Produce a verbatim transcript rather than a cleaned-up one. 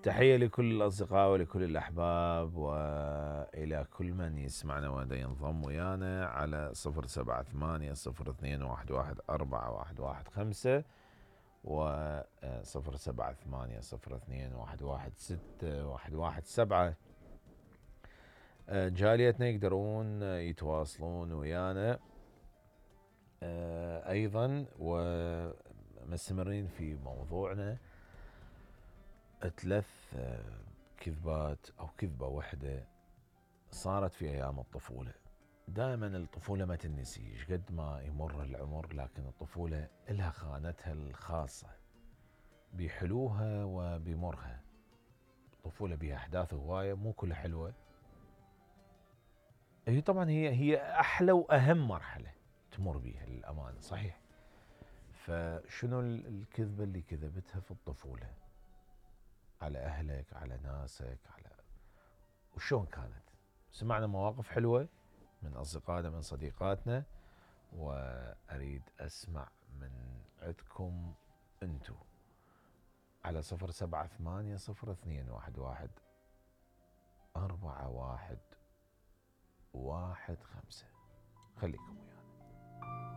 تحية لكل الأصدقاء ولكل الأحباب وإلى كل من يسمعنا ودا ينضم ويانا على صفر سبعة ثمانية صفر اثنين واحد واحد أربعة واحد واحد خمسة و صفر سبعة ثمانية صفر اثنين واحد واحد ستة واحد واحد سبعة. جاليتنا يقدرون يتواصلون ويانا أيضا ومستمرين في موضوعنا. ثلاث كذبات أو كذبة واحدة صارت في أيام الطفولة. دائما الطفولة ما تنسي قد ما يمر العمر، لكن الطفولة لها خانتها الخاصة بحلوها وبمرها. الطفولة بها أحداث هواية مو كلها حلوة. هي طبعا هي هي أحلى وأهم مرحلة تمر بها للأمانة، صحيح. فشنو الكذبة اللي كذبتها في الطفولة على أهلك، على ناسك، على وشون كانت؟ سمعنا مواقف حلوة من أصدقائنا من صديقاتنا، وأريد أسمع من عندكم أنتو على صفر سبعة ثمانية صفر اثنين واحد واحد أربعة واحد واحد خمسة. خليكم ويانا.